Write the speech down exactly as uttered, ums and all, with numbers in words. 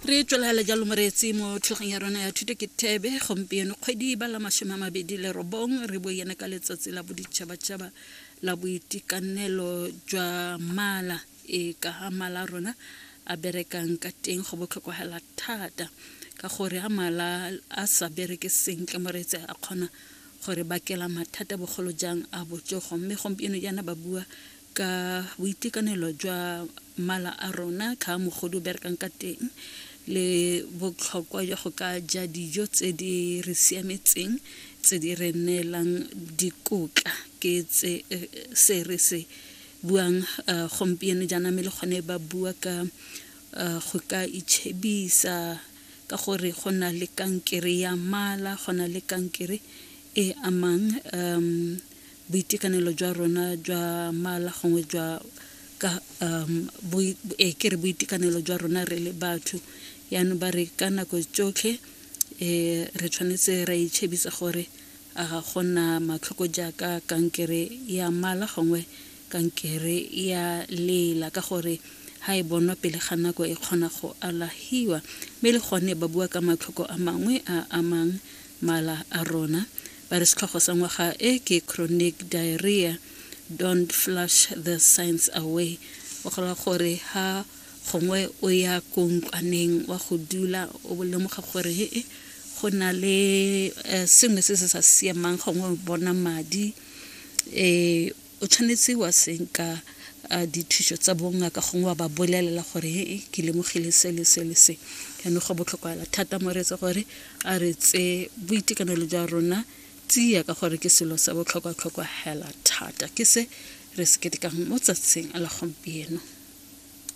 Re tswelela jalo moreetsi mo thulaganyong ya rona ya Thuto ke Thebe. Gompieno kgwedi ba la masome a mabedi le robong, re buiana ka letsatsi la boditšhabatšhaba la boitekanelo jwa mala, e ka ga mala a rona a berekang ka teng. Go botlhokwa hela thata ka gore ga mala a sa bereke sentle, moreetsi, a kgona gore bakela mathata, bogolo jang a botsogo. Mme gompieno jaana ba bua ka boitekanelo jwa mala a rona, ka mogodu o berekang ka teng, le botlhokwa jwa go ka ja dijo tse di re siametseng, tse di re neelang dikotla. Ke tse se re se buang gompieno jaana. Mme le gone ba bua ka go ka itšhebisa ka gore go na le kankere ya mala, go na le kankere e amang um boitekanelo jwa rona jwa mala, gongwe jwa ka um e ke re boitekanelo jwa rona re le batho. Yaanong ba re ka nako tsotlhe um re tshwanetse ra itšhebisa gore a ga gona matlhoko jaaka kankere ya mala gongwe kankere ya lela, ka gore ha e bonwa pele ga nako e kgona go alahiwa. Mme le gone ba bua ka matlhoko a mangwe a amang mala a rona. Ba re setlhogo sa ngwaga e ke "Chronic diarrhea, don't flush the signs away". O gola gore ha gongwe o ya ko ntlwaneng wa go dula, o lemoga gore he go na le sengwe se se sa siamang, gongwe o bona madi, um o tshwanetse wa senka dithuso tsa bongaka, gongwe wa ba bolelela gore he ke lemogile se le se le se. Jaanong go botlhokwa thata, moreetsi, gore a re tse boitekanelo jwa rona tsia, ka gore ke selo sa botlhokwa-tlhokwa hela thata. Ke se re se ketekang mo tsatsing la gompieno.